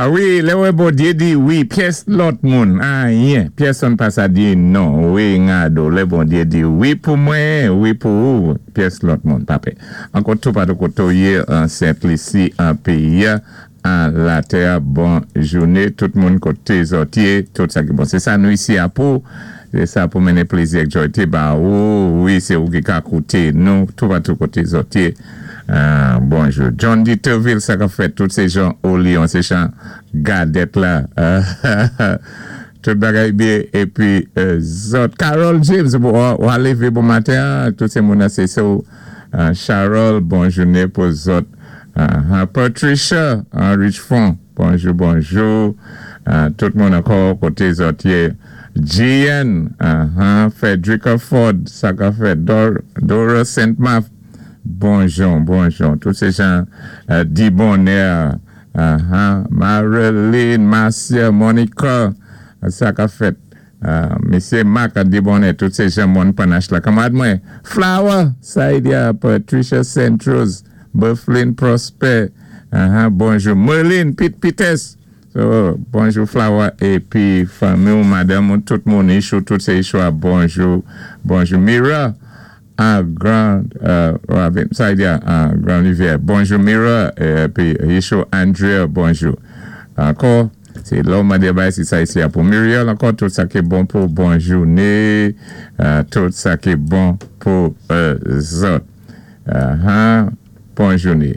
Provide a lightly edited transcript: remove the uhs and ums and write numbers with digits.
A wi, lè wè Bondyé di wi, pyès lòt moun, anyen, pyèsonn pa sa di non, wi ngado, lè Bondyé di wi pou mwen, wi pou ou, pyès lòt moun pa pè. Ankò toupatou koté w yé an Sent Lisi, an péyi a, an latè a, bon jouné tout moun koté zòt yé, tout sa ki bon. Sé sa nou isi a pou, sé sa pou mennen plézi ak jòyté ba ou, wi sé ou ki ka kouté nou toupatou koté zòt yé. Bonjou John Diterville sa kap fèt tout se jan o Lyon se chan gadèt la tout bagay byen epi zòt Carol James wa leve bon maten an tout se moun nan se so Charol bon joune pou zòt Patricia Richefond bonjou bonjou tout moun ankò kote zòt ye GN Frederica Ford sa kap fèt Dora Saint Marc. Bonjon bonjon tout se jan di bonè ahan Marilyn Marcia Monica sa kap fèt mesye Marc di bonè tout se jan mòn panache la kanmarad mwen Flower Saidia Patricia Saintrose Berthlin Prosper ahan bonjou Merline Pete Peters so bonjou Flower epi fanmi w madanm ou tout moun Ichou tout se Ichou a bonjou bonjou Mira A gran ravin, sa vle di a gran rivyè. Bonjou Mira, epi Yeshua Andrea, bonjou. Ankò, se lè w mande bay si sa isi a pou Muriel ankò, tout sa ki bon pou bon joune, tout sa ki bon pou zòt. Bon joune.